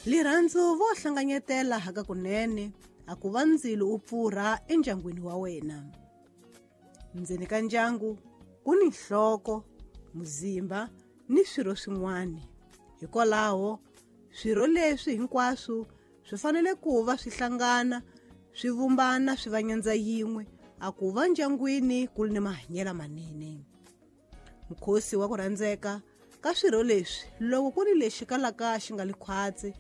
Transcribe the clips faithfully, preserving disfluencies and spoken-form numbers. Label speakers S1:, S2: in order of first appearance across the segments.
S1: Lirhandzu vo hlanganyetela hakakunene a ku va ndzilo u pfurha endyangwini wa wena. Ndzeni ka ndyangu ku ni nhloko, muzimba ni swirho swin'wana. Hikwalaho swirho leswi hinkwaswo swi fanele ku va swi hlangana, swi vumbana swi va nyandza yin'we a ku va ndyangwini ku ri ni mahanyelo manene. Mukhosi wa ku rhandzeka ka swirho leswi loko ku ri lexi kalaka xi nga li khwatsi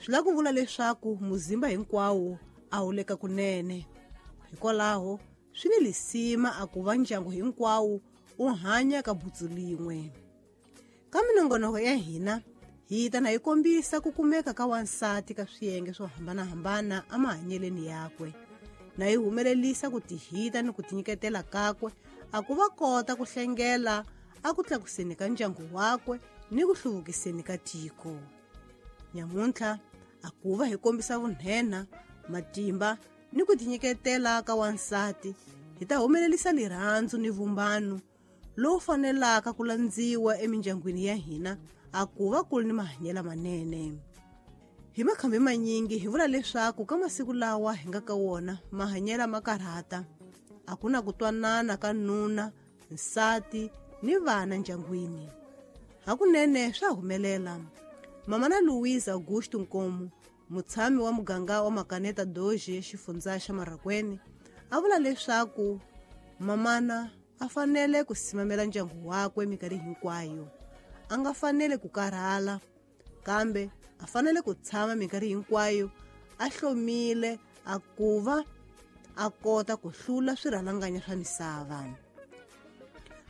S1: swi lava ku vula leswaku muzimba hinkwawo a wu le ka kunene. Hikwalaho swi ni lisima a ku va ndyangu hinkwawo u hanya ka butsu lin'we. Ka minongonoko ya hina hi ta na hi kombisa ku kumeka ka wansati ka swiyenge swo hambanahambana emahanyeleni yakwe, na hi humelelisa ku tihita ni ku tinyiketela kakwe a ku va kota ku hlengela a ku tlakuseni ka ndyangu wakwe ni ku hluvukiseni ka tiko. Nyamuntlha a ku va hi kombisa vunhena, matimba ni ku tinyiketela ka wansati, hi ta humelelisa lirhandzu ni vumbano lowu fanelaka ku landziwa emindyangwini ya hina a ku va ku ri ni mahanyelo manene. Hi makhambi manyingi hi vula leswaku ka masiku lawa hi nga ka wona mahanyelo ma karhata, a ku na ku twanana ka nuna, nsati ni vana ndyangwini. Hakunene swa humelela. Mama na Louise Augusto Nkomo, mutshami wa muganga wa Makaneta Doge xifundza xa Marracuene, a vula leswaku mamana a fanele ku simamela ndyangu wakwe minkarhi hinkwayo. A nga fanele ku karhala, kambe a fanele ku tshama minkarhi hinkwayo a hlomile a ku va a kota ku hlula swirhalanganya swa misava.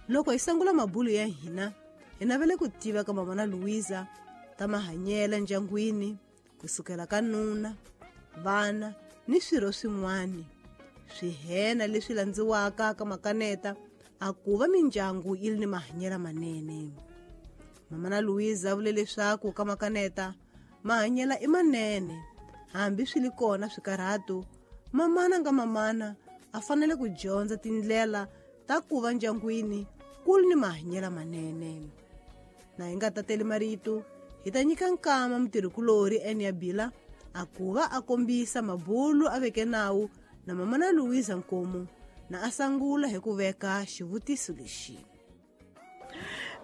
S1: Loko hi sungula mabulu ya hina, hi navele ku tiva ka mama na Louisa ta mahanyelo ndyangwini, kusukela ka nuna, vana ni swirho swin'wana, swihena leswi landziwaka ka Makaneta a ku va mindyangu yi ri ni mahanyelo manene. Mama na Louisa vule leswaku ka Makaneta mahanyelo i manene, hambi swi li kona swikarhato. Mamana nga mamana a fanele ku dyondza tindlela ta ku va ndyangwini ku ri ni mahanyelo manene. Na hi nga tateli marito, hi ta nyika nkama mutirhikulorhi Enia Bila a ku va a kombisa mabulu a veke nawu na mama na Louisa Nkomo, na a sangula hi ku veka xivutiso lexi.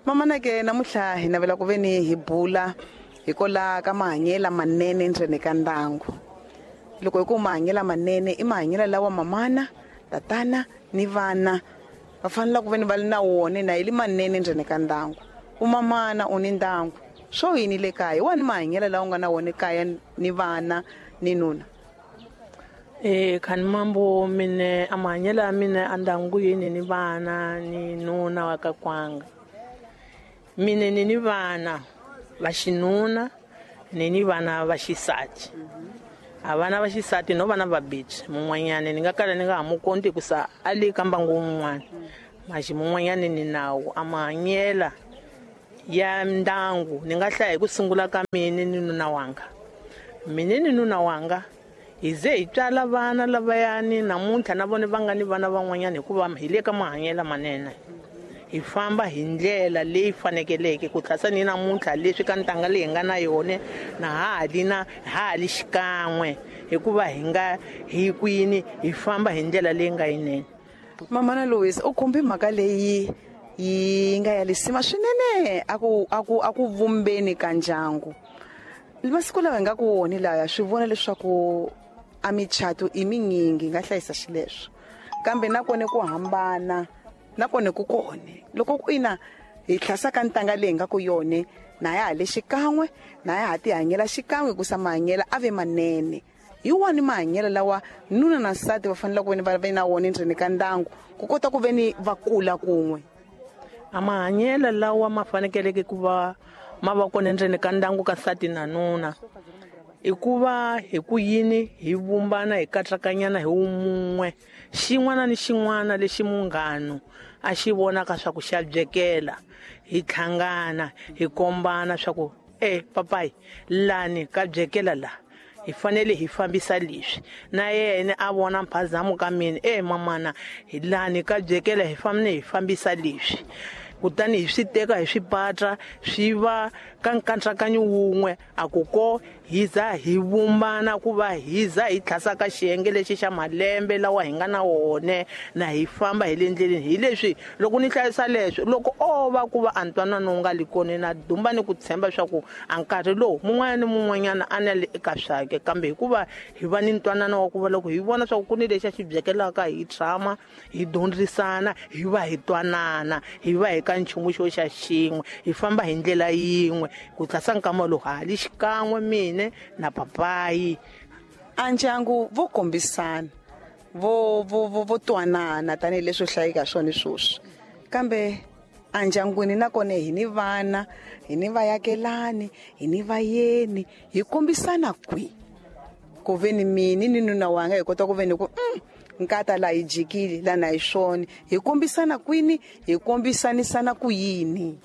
S2: Mama na ke namuntlha hi navela ku ve ni hi bula hikola ka mahanyelo manene ndzeni ka ndyangu. Loko hi ku mahanyelo manene i mahanyelo lawa mamana, tatana ni vana va fanele ku ve ni va li na wona na yi li manene ndzeni ka ndyangu. U mamana u ni ndyangu, swo yini le kaya? Wani mahanyelo lawa u nga na wona kaya ni vana ni nuna?
S3: Eh khani mambo mine amahanyelo ya mina endyangwini ni vana ni nuna wa ka kwanga. Mine ni ni vana va xinuna ni ni vana va xisati. A vana va xisati no vana va bitch mun'wanyana ni nga kala ni nga ha mu konti ku sa a le ka mbangu wun'wana. Maxi mun'wanyana ni nawu amahanyela ya ndyangu ni nga hlaya hi ku sungula ka mine ni nuna wanga. Mine ni nuna wanga hi ze hi tswala vana lavayani namuntlha na vona va nga ni vana van'wanyana hikuva hi le ka mahanyelo manene. Hi famba hi ndlela leyi fanekeleke ku tlhasa ni namuntlha leswi ka ntanga leyi hi nga na yona na ha li na ha li xikan'we hikuva hi nga hi kwini hi famba hi ndlela leyi nga yinene.
S2: Mama na Louise u khumbi mhaka leyi yi nga ya lisima swinene a ku a ku a ku vumbeni ka ndyangu. Masiku lawa hi nga ku wona laya swi vona leswaku a michato i minyingi nga hlayisa xileswo, kambe nakona ku hambana nakona ku kone loko ku ina hi tlhasa ka ntanga leyi nga ku yone na ya ha le xikan'we na ya ha tihanyela xikan'we ku sa mahanyela a ve manene. Hi wani mahanyelo lawa nuna na nsati va fanele ku ve ni va ve na wona endzeni ka ndyangu ku kota ku ve ni va kula kun'we?
S3: A mahanyelo lawa ma fanekeleke ku va ma va kona endzeni ka ndyangu ka nsati na nuna i ku va hi ku yini hi vumbana hi katsakanyana hi wumun'we, xin'wana ni xin'wana lexi munghano a xi vonaka swa ku xa byekela, hi tlhangana hi kombana swa ku e papayi lani ka byekela la hi fanele hi fambisa leswi, na yena a vona mphazamo ka mina e mamana hi lani ka byekela hi fanele hi fambisa leswi. Kutani hi swi teka hi swi patra swi va ka nkatsakanyo wun'we a ku ko hi za hi vumbana ku va hi za hi tlhasa ka xiyenge lexi xa malembe lawa hi nga na wone na hi famba hi le ndleleni. Hi leswi loko ni hlayisa leswi loko o va ku va a ntwanano wu nga li kona na dumba ni ku tshemba swa ku a nkarhi lowu mun'wana ni mun'wanyana a na le eka swake, kambe hikuva hi va ni ntwanano wa ku va loko hi vona swa ku ku ni lexi a xi byekelaka hi tshama hi dyondzisana hi va hi twanana hi va hi ka nchumu xo xa xin'we hi famba hi ndlela yin'we ku tlhasa nkama lowu ha li xikan'we mine na papayi.
S2: A ndyangu vo kombisana vo vo vo vo twanana tanihileswi hlayika swona sweswi, kambe andyangwini nakona hi ni vana, hi ni vayakelani, hi ni vayeni, hi kombisana kwihi ku ve ni mini ni nuna wanga hi kota ku ve ni ku mm, nkata la hi jikile lana hi swona, hi kombisana kwini, hi kombisanisana ku yini?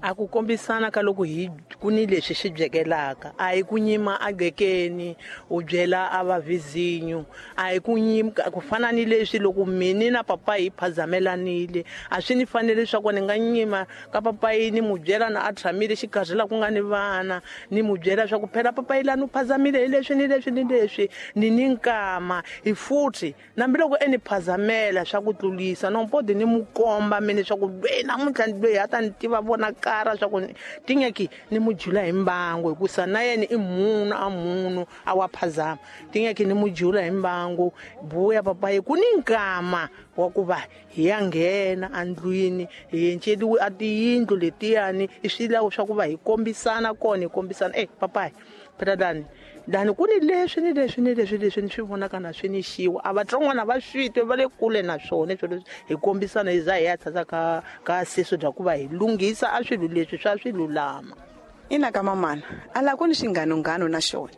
S3: A ku kombisana ka loko hi ku ni leswi swi byekelaka a hi ku nyima a gqekeni u byela a va vizinyo, a hi ku nyima ku fana ni leswi loko mini na papayi hi phazamelanile a swi ni fanele leswaku ni nga nyima ka papayi ni mu byela na a tshamile xikarhi la ku nga ni vana ni mu byela swa ku phela papayi lani u phazamile hi leswi ni leswi ni leswi ni ni nkama hi futhi nambi loko e ni phazamela swa ku tlulisa nompodi ni mu komba mini swa ku lweyi namuntlha lweyi a ta ni tiva vona kara swa ku tingeki ni mujula hi mbangu hikusa na yena i munhu a munhu a wa phazama tingeki ni mujula hi mbangu buya papayi ku ni nkama wa ku va hi ya nghena andlwini hi enceliwe a tiyindlu letiyani i swilawo swa ku va hi kombisana kona hi kombisana e papayi phela dani dani ku ni leswi ni leswi ni leswi leswi ni swi vonaka na swi ni xiwa a vatsongwana va swi twe va le kule na swona swilo leswi hi kombisana hi za hi ya tshasa ka ka seso bya ku va hi lunghisa a swilo leswi swa swi lulama.
S2: Ina ka mamana a la ku ni xinghanonghano na xona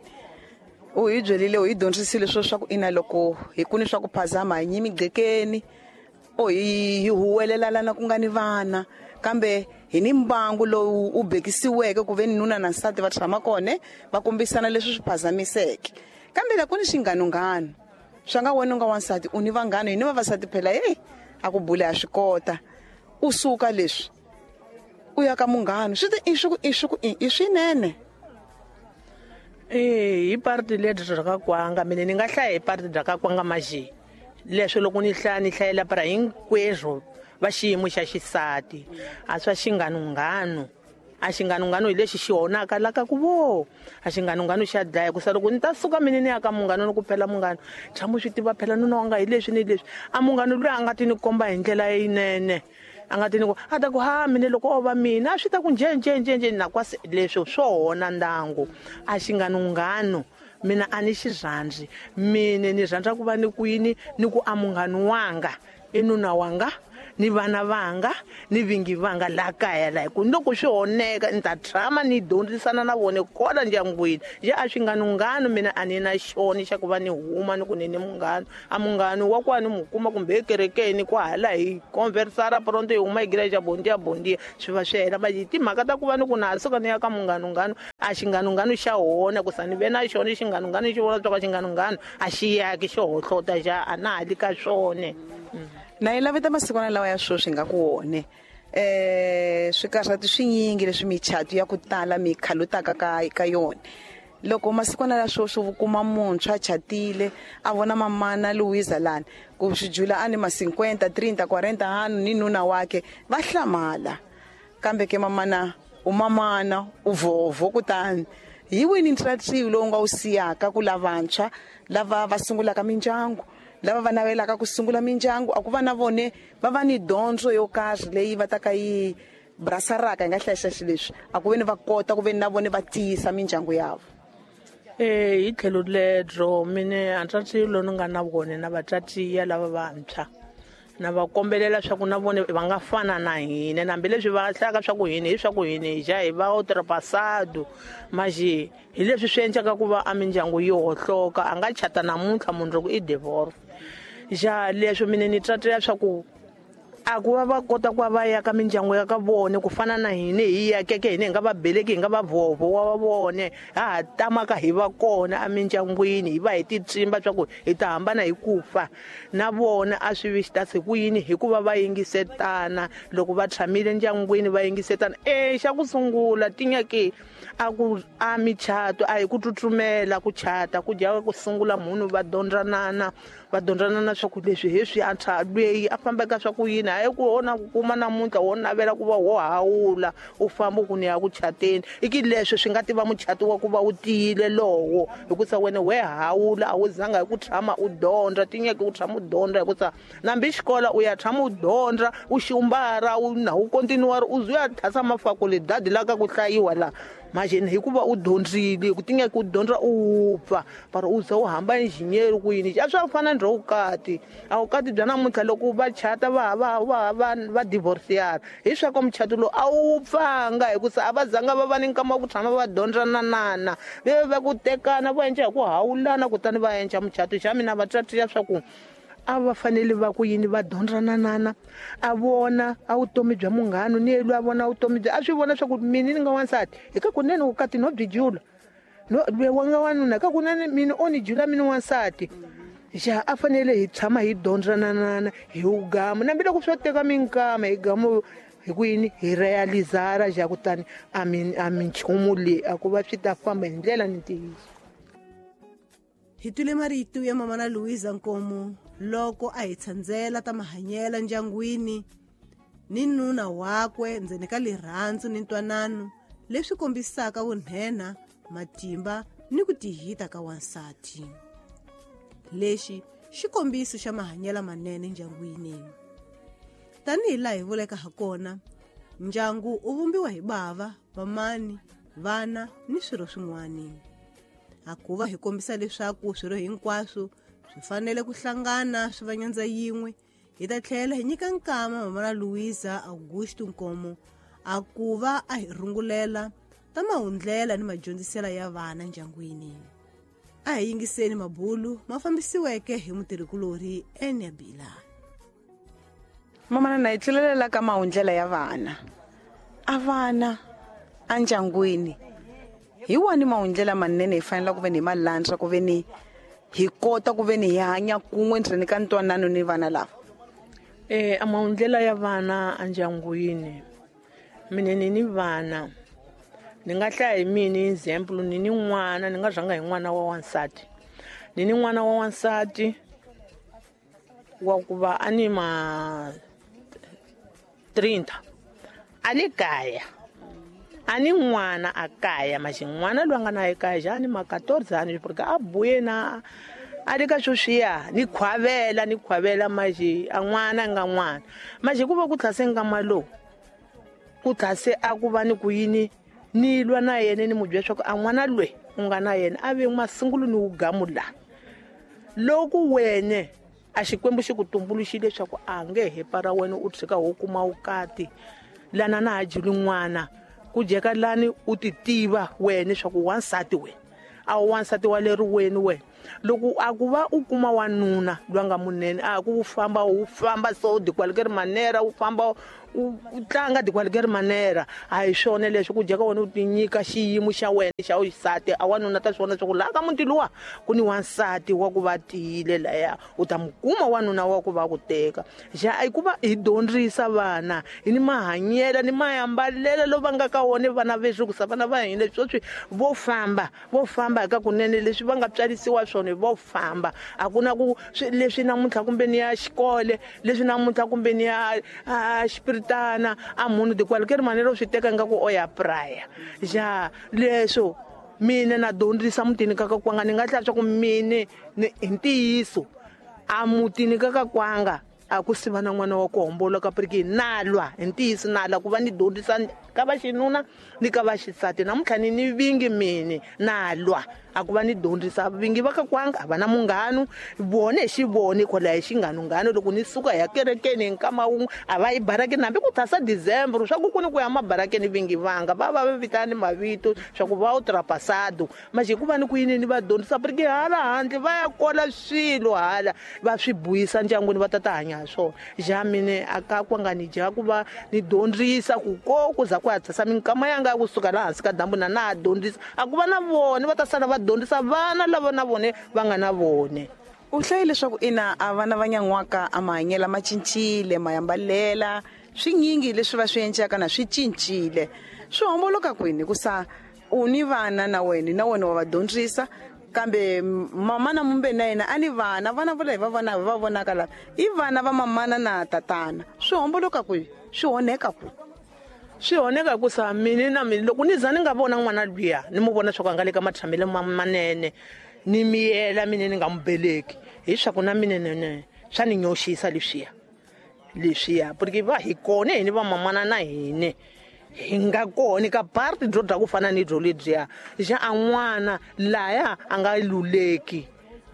S2: u hi byerile u hi dyondzisile swo swa ku ina loko hi ku ni swa ku phazama hi nyimi gqekeni o hi hi huwelelana ku nga ni vana, kambe hi ni mbangu lowu u bekisiweke ku ve ni nuna na nsati va tshama kona va kombisana leswi swi phazamiseke, kambe la ku ni xinghanonghano swa nga wena u nga wansati u ni vanghana hi ni vavasati phela hey a ku bula ya swi kota u suka leswi u ya ka munghana swi ti i swi ku i swi ku i swinene.
S3: Eh hi parti ledyi bya ka kwanga mina ni nga hlaya hi parti bya ka kwanga maji leswi loko ni hlaya ni hlayela para hinkwerhu va xiyimo xa xisati a swa xinghanonghano a xinghanonghano hi lexi xi honaka la ka ku vo a xinghanonghano xa dlaya ku sa loko ni ta suka mina ni ya ka munghano ni ku phela munghano tshama swi tiva phela nuna wanga hi leswi ni leswi a munghano loyi a nga ti ni komba hi ndlela leyinene a nga ti ni ku a ta ku ha mina loko o va mina a swi ta ku nje nje nje nje na kwasi leswo swo hona ndangu a xinghanonghano mina a ni xi rhandzi mina ni rhandza ku va ni kwini ni ku a munghano wanga i nuna wanga ni vana vanga ni vingi vanga la kaya la ku loko swi honeka ni ta tshama ni dyondzisana na vona kona ndyangwini nje a xinghanonghano mina a ni na xona xa ku va ni huma ni ku ni ni munghano a munghano wa kwani mu kuma kumbe ekerekeni kwahala hi conversara pronto hi huma hi igreja bondia bondia swi va swi hela manje timhaka ta ku va ni ku na suka ni ya ka munghanonghano a xinghanonghano xa hona ku sa ni ve na xona xinghanonghano xi vona swa ka xinghanonghano a xi yaki xo hohlota xa a na ha li ka swona.
S2: Na yi laveta masikwana lawa ya sweswi nga ku wone eh swikarhati swinyingi leswi michato ya ku tala mi khalutaka ka ka yona loko masikwana la sweswi u kuma muntshwa chatile a vona mamana Louisa lani ku swi jula a ni ma cinquanta trenta quaranta hanu ni nuna wake va hlamala, kambe ke mamana u mamana u vovo kutani hi wini ntratsiwi lowu nga wu siyaka ku lavantshwa lava va sungulaka mindyangu lava va navelaka ku sungula mindyangu a ku va na vone va va ni dyondzo yo karhi leyi va ta ka yi brasaraka hi nga hlayisa xilo leswi a ku ve ni va kota ku ve ni na vone va tiyisa mindyangu yavo.
S3: Eh hi tlhelo ledro mine a ntratsiwi lowu ni nga na vone na vatswatiya lava vantshwa na va kombelela swa ku na vone va nga fana na hina hambileswi va hlaka swa ku hina hi swa ku hina hi ja hi va ultrapassado maji hi leswi swi endlaka ku va a mindyangu yi hohloka a nga chata namuntlha mundzuku i divorce ja leswi mina ni tswatela swa ku A ku va va kota ku va va ya ka mindyangu ya ka vona ku fana na hina hi yakeke hina hi nga va beleki hi nga va vovo wa vone ha ha tamaka hi va kona emindyangwini hi va hi titsimba swa ku hi ta hambana hi ku fa na vona a swi vi xitasi ku yini hikuva va yingisetana loko va tshamile ndyangwini va yingisetana e xa ku sungula tinyaki a ku a michato a hi ku tsutsumela ku chata ku dya ku sungula munhu va dyondzanana va dyondzanana swa ku leswi hi swi a lweyi a fambaka swa ku yini hayi ku wona ku kuma namuntlha wo navela ku va wo hawula u famba ku ni ya ku chateni i ki leswi swi nga tiva muchato wa ku va wu tiyile lowo hikusa wena we hawula a wu zanga hi ku tshama u dyondza tinyeke u tshama u dyondza hikusa nambi xikola u ya tshama u dyondza u xumbara u na u kontinuwari u zuya thasa mafakulidadi la ka ku hlayiwa la majeni hikuva u dyondzile ku tinyeke u dyondza u wupfa para u za u hamba engineer ku yini a swa fana ndro vukati a vukati bya namuntlha loko va chata va va va va va divorceana hi swa ku muchato lowu a wu pfanga hikusa a va zanga va va ni nkama wa ku tshama va dyondzananana ve va ku tekana va endla hi ku hawulana kutani va endla muchato xa mina va tswatiya swa ku a va fanele va ku yini va dyondzananana a vona a vutomi bya munghana ni yelwa a vona vutomi bya a swi vona swa ku mina ni nga wansati hi ka kunene vukati no byi jula no lwe wa nga wanuna ka kunene mina o ni jula mina wansati xa a fanele hi tshama hi dyondzananana hi ugama nambi loko swo teka minkama hi gamo hi ku yini hi realizara xa kutani a mi a minchumu leyi a ku va swi ta famba hi ndlela ni ntiyiso.
S1: Hi twile marito ya mama na Louisa Nkomo loko a hi tshandzela ta mahanyela ndyangwini ni nuna wakwe ndzeni ka lirhandzu ni ntwanano leswi kombisaka vunhena matimba ni ku tihita ka wansati. Lexi xikombiso xa mahanyela manene ndyangwini. Tanihi laha hi vuleka ha kona, ndyangu u vumbiwa hi bava, vamani, vana ni swirho swin'wana. A ku va hi kombisa leswaku swirho hinkwaswo swi fanele ku hlangana swi va nyandza yin'we, hi ta tlhela hi nyika nkama mama na Louisa Augusto Nkomo a ku va a hi rungulela ta mahundlela ni madyondzisela ya vana ndyangwini. A hi yingiseni mabulu ma fambisiweke hi mutirhikulorhi Enya Bila.
S2: Mama na hi tlulelela ka mahundlela ya vana. A vana endyangwini hi wani mahundlela manene hi fanele ku ve ni hi malandza ku ve ni hi kota ku ve ni hi hanya kun'we ndzeni ka ntwanano ni vana lava.
S3: Eh a mahundlela ya vana endyangwini mina ni ni vana ni nga hlaya hi mina example ni ni n'wana ni nga rhanga hi n'wana wa wansati ni ni n'wana wa wansati wa ku va a ni ma trinta a le kaya a ni n'wana a kaya maxi n'wana loyi a nga na ekaya xa ni ma quatorze ani porque a buye na a le ka sweswiya ni khwavela ni khwavela maxi a n'wana nga n'wana maxi ku va ku tlhase nkama lowu ku tlhase a ku va ni ku yini ni lwa na yena ni mu byela swa ku a n'wana loyi u nga na yena a ve masungulo ni wugamu la loko wene a xikwembu xi ku tumbuluxile leswaku a nge he para wena u tshika wo kuma vukati lana na ha juli n'wana ku jeka lani u ti tiva wena leswaku wansati wena a wu wansati wa leri weni wena loko a ku va u kuma wanuna loyi a nga munene a ku famba u famba so dikwalike ri manera u famba u tlanga dikwalike ri manera a hi swona leswi ku jeka wena u ti nyika xiyimo xa wena xa xisati a wanuna ta swona swa ku laha ka muti luwa ku ni wansati wa ku va tiyile laya u ta mu kuma wanuna wa ku va ku teka xa i ku va hi dyondzisa vana hi ni mahanyela ni mayambalelo lo va nga ka wona vana veswi ku sa vana va hina sweswi vo famba vo famba eka kunene leswi va nga tswarisiwa swona vo famba a ku na ku leswi namuntlha kumbe ni ya xikole leswi namuntlha kumbe ni ya xipiritana a munhu dikwalike ri manero swi teka nga ku o ya praya ja leswo mina na dyondzisa mutini ka kakwanga ni nga hlaya swa ku mine hi ntiyiso a mutini ka kakwanga a ku siva na n'wana wa ku homboloka piriki na lwa hi ntiyiso na lwa ku va ni dyondzisa ka va xinuna ni ka va xisati namuntlha ni ni vingi mine na lwa A ku va ni dyondzisa vingi va ka kwanga a va na munghano vone xi vone kwala hi xinghanunghano loko ni suka ya kerekeni hi nkama wun'we a va yi barakeni hambi ku thasa December swa ku ku ni ku ya mabarakeni vingi vanga va va va vitani mavito swa ku va u trapasado manje ku va ni ku yini ni va dyondzisa porque hala handle va ya kola swilo hala va swi buyisa ndyangwini va ta ta hanya ha swona ja mine a ka kwanga ni dya ku va ni dyondzisa ku ko ku za ku ya thasa minkama yanga ya kusuka laha hansi ka dyambu na na ha dyondzisa a ku va na vona va ta sala va dyondzisa vana lava na vone va nga na vone.
S2: U hlaye leswaku ina a vana va nyan'waka a mahanyela ma cincile mayambalela swinyingi leswi va swi endlaka na swi cincile swi homboloka kwini hikusa u ni vana na wena na wena wa va dyondzisa kambe mama na mumbe na yena a ni vana vana vo lava va vona va vonaka lava i vana va mamana na tatana swi homboloka kwihi swi onheka kwihi?
S3: Swi onheka ku sa mina na mina loko ni za ni nga vona n'wana luya ni mu vona swa ku a nga le ka matshamelo manene ni miyela mina ni nga mu beleki hi swa ku na mina nene swa ni nyoxisa leswiya leswiya porque va hi kona hini va mamana na hine hi nga kona ka party byo dya ku fana ni byo lebyiya xa a n'wana laya a nga luleki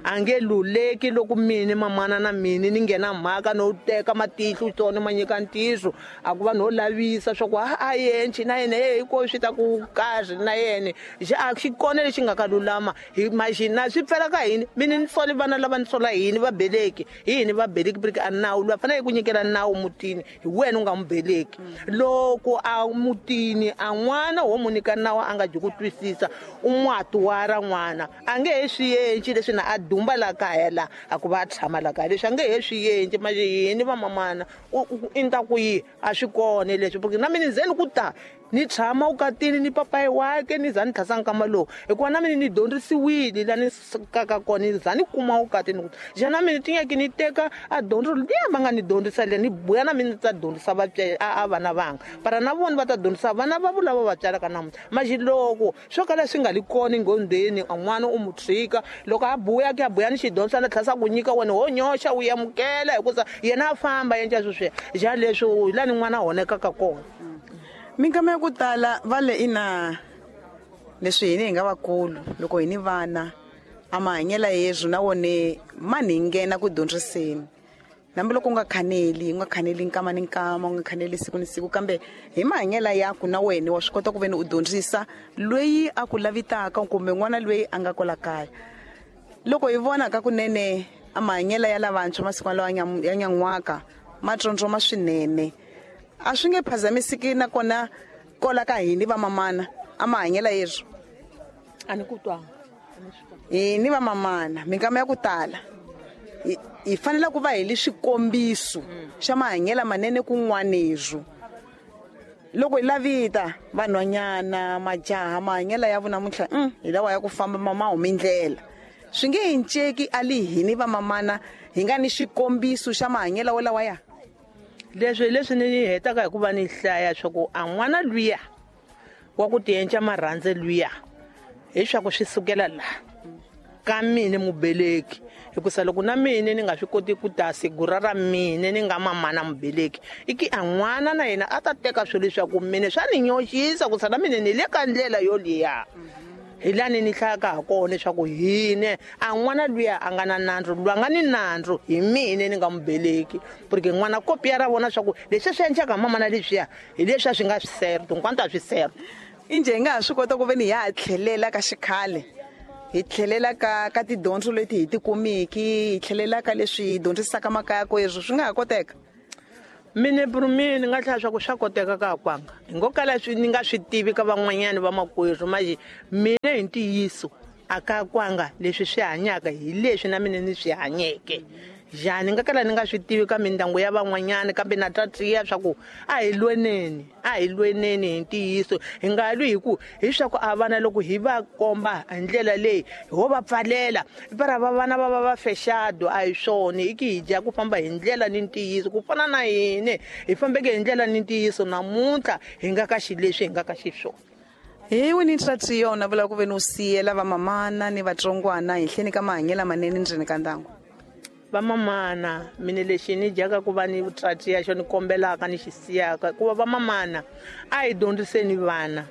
S3: a nge luleki loko mine mamana na mine ni nghena mhaka no teka matihlo tsona ma nyika ntiyiso a ku va no lavisa swa ku a a yenci na yena hey ko swi ta ku kahle na yena xa a xi kona lexi nga ka lulama hi maxina swi pfela ka hini mine ni sole vana lava ni sola hini va beleki hi hini va beleki porque a nawu loyi a fanele ku nyikela nawu mutini hi wena u nga mu beleki loko a mutini a n'wana wo mu nyika nawu a nga dyi ku twisisa u n'watuwara n'wana a nge he swi yenci leswi na a dumba la kaya la a ku va tshama la kaya leswi a nge he swi endli manje yini va mamana i nta ku yi a swi kona leswi porque na mina ndzeni ku ta ni tshama ukatini ni papayi wake ni za ni tlhasa nkama lowu hikuva na mina ni dyondzisiwile la ni sukaka kona ni za ni kuma ukatini ku ja na mina tinyaki ni teka a dyondzo liya va nga ni dyondzisa liya ni buya na mina ni ta dyondzisa a vana vanga para na vona va ta dyondzisa vana va lava va tswalaka namuntlha manje loko swo kala swi nga li kona enghondweni a n'wana u mu tshika loko a buya ke a buya ni xidyondzo na tlhasa ku nyika wena ho nyoxa u amukela hikusa yena a famba endla sweswiya ja leswi hi la ni n'wana a honekaka kona.
S2: Minkama ya ku tala va le ina leswi hini hi nga vakulu loko hi ni vana a mahanyela yezwo na wone ma ni nghena ku dyondziseni hambi loko u nga khaneli u nga khaneli nkama ni nkama u nga khaneli siku ni siku kambe hi mahanyela yaku na wena wa swi kota ku ve ni u dyondzisa loyi a ku lavitaka kumbe n'wana loyi a nga kwala kaya. Loko hi vona ka kunene a mahanyela ya lavantshwa masiku lawa ya nyan'waka ma tsondzoma swinene a swi nge phazamisiki nakona kola ka hini va mamana a mahanyela yezwo
S3: a ni ku twanga
S2: hini va mamana minkama ya ku tala hi fanele ku va hi li swikombiso xa mahanyela manene kun'wanezwo loko hi lavita vanhwanyana majaha mahanyela ya vona namuntlha hi lawa ya ku famba ma humi ndlela swi nge hinceki a li hini va mamana hi nga ni xikombiso xa mahanyela wolawa ya
S3: leswi leswi ni hetaka hi ku va ni hlaya swa ku a n'wana luya wa ku tienca marhandze luya hi swa ku swi sukela laha ka mina mubeleki hikusa loko na mina ni nga swi koti ku ta sigura ra mina ni nga mamana mubeleki i ki a n'wana na yena a ta teka swilo leswaku mina swa ni nyoxisa ku sala mina ni le ka ndlela yoliya hi lani ni hlayaka ha kona leswaku hine a n'wana luya a nga na nandzu lwa nga ni nandzu hi mina ni nga mubeleki porque n'wana kopiya ra vona swa ku leswi swi endlaka mamana leswiya hi leswi a swi nga swi serto hinkwanto a swi serto.
S2: Injhe hi nga ha swi kota ku ve ni hi ha tlhelela ka xikhale hi tlhelela ka ka tidyondzo leti hi ti kumiki hi tlhelela ka leswi hi dyondzisaka makaya ko ezwo swi nga ha koteka?
S3: Mine purumini ni nga hlaya swa ku swa koteka ka kwanga hi ngo kala swi ni nga swi tivi ka van'wanyana va makwerhu manje mina hi ntiyiso a ka kwanga leswi swi hanyaka hi leswi na mina ni swi hanyeke njhani nga kala ni nga swi tivi ka mindyangu ya van'wanyana kambe na tatiya swa ku a hi lweneni a hi lweneni hi ntiyiso hi nga lwi hi ku hi swa ku a vana loko hi va komba hi ndlela leyi ho va pfalela para va vana va va va fexado a hi swona i ki hi dya ku famba hi ndlela ni ntiyiso ku fana na hine hi fambeke hi ndlela ni ntiyiso namuntlha hi nga ka xileswi hi nga ka xiswona.
S2: Hi wini ntratiyo na vula ku ve ni u siyela vamamana ni vatsongwana henhleni ka mahanyelo manene ndzeni ka ndyangu?
S3: Vamamana mina lexi ni dyaka ku va ni tratiya xo ni kombelaka ni xi siyaka ku va vamamana a hi dyondziseni vana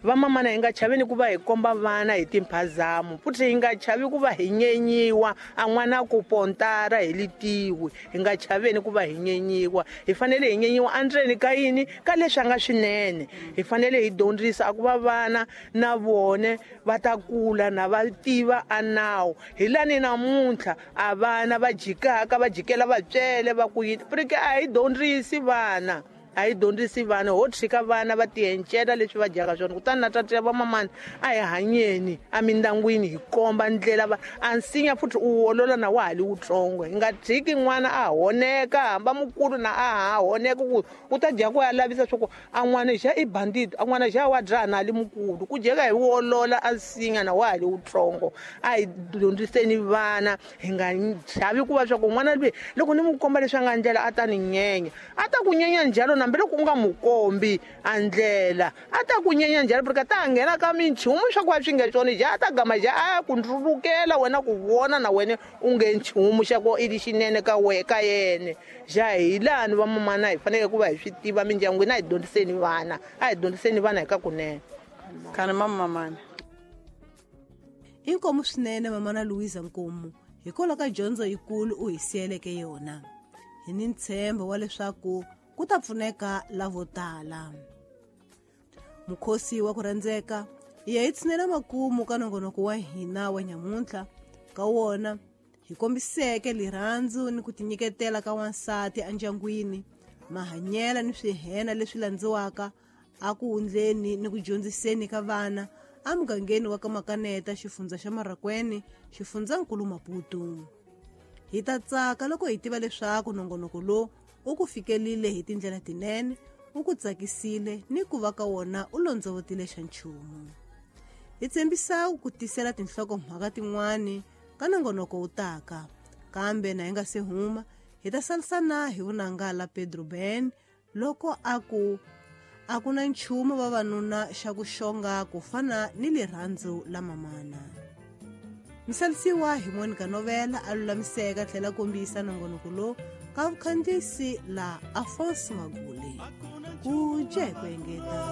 S3: Vamamana hi nga chaveni ku va hi komba vana hi timphazamo, futhi hi nga chavi ku va hi nyenyiwa a n'wana ku pontara hi litiwi, hi nga chaveni ku va hi nyenyiwa. Hi fanele hi nyenyiwa endzeni ka yini, ka leswi a nga swinene. Hi fanele hi dyondzisa a ku va vana na vone va ta kula na va tiva a nawu. Hi lani namuntlha a vana va jikaka va jikela vatswele va ku yini, porque a hi dyondzisi vana, a hi dyondzisi vana, ho tshika vana va tiencela leswi va dyaka swona. Kutani na tata va mamana a hi hanyeni emindyangwini hi komba ndlela va a nsinya futhi u wolola na wa ha li wutsongo. Hi nga tshiki n'wana a honeka, hamba mukulu na a ha honeka ku u ta dya ku ya lavisa swa ku a n'wana xa i bandit, a n'wana xa wa dzaha na li mukulu, ku dyeka hi wolola a nsinya na wa ha li wutsongo. A hi dyondziseni vana, hi nga chavi ku va swa ku n'wana loyi loko ni n'wi komba leswi a nga ndlela a ta ni nyenya, a ta ku nyenya njhalo hambi loko u nga n'wi kombi a ndlela, a ta ku nyenya njhalo, porque a ta nghena ka minchumu swa ku a swi nge swona, ja a ta gama ja a ku ndlulukela wena ku vona na wena u nge nchumu xa ku i lexinene ka we ka yena. Ja hi lani vamamana hi fanele ku va hi swi tiva mindyangwini, a hi dyondziseni vana, a hi dyondziseni vana hi ka kunene.
S2: Kana mamamana
S1: inkomu swinene mamana Louisa Nkomu, hikwalaho ka dyondzo yikulu u hi siyeleke yona. Hi ni ntshembo wa leswaku ku ta pfuneka lavo tala. Mukhosi wa ku rhandzeka hi ya hi tshinela makumu ka nongonoko wa hina wa nyamuntlha. Ka wona hi kombiseke rirhandzu ni ku tinyiketela ka wansati endyangwini, mahanyela ni swihena leswi landziwaka a ku wundleni ni ku dyondziseni ka vana emugangeni wa ka Makaneta, xifundza xa Marracuene, xifundzankulu Maputo. Hi ta tsaka loko hi tiva leswaku nongonoko lowu u ku fikelile hi tindlela tinene, u ku tsakisile ni ku va ka wona u londzovotile xa nchumu. Hi tshembisa ku tisela tinhlokomhaka tin'wani ka nongonoko wu taka, kambe na hi nga se huma hi ta salisana hi vunanga la Pedro Ben loko a ku a ku na nchumu vavanuna xa ku xonga ku fana ni rirhandzu la mamana. Misalisiwa hi Monica Novela a lulamiseka tlhela kombisa nongonoko lowu ka vukhandziyisi la Afonso Magule. Ku jekwe engeta.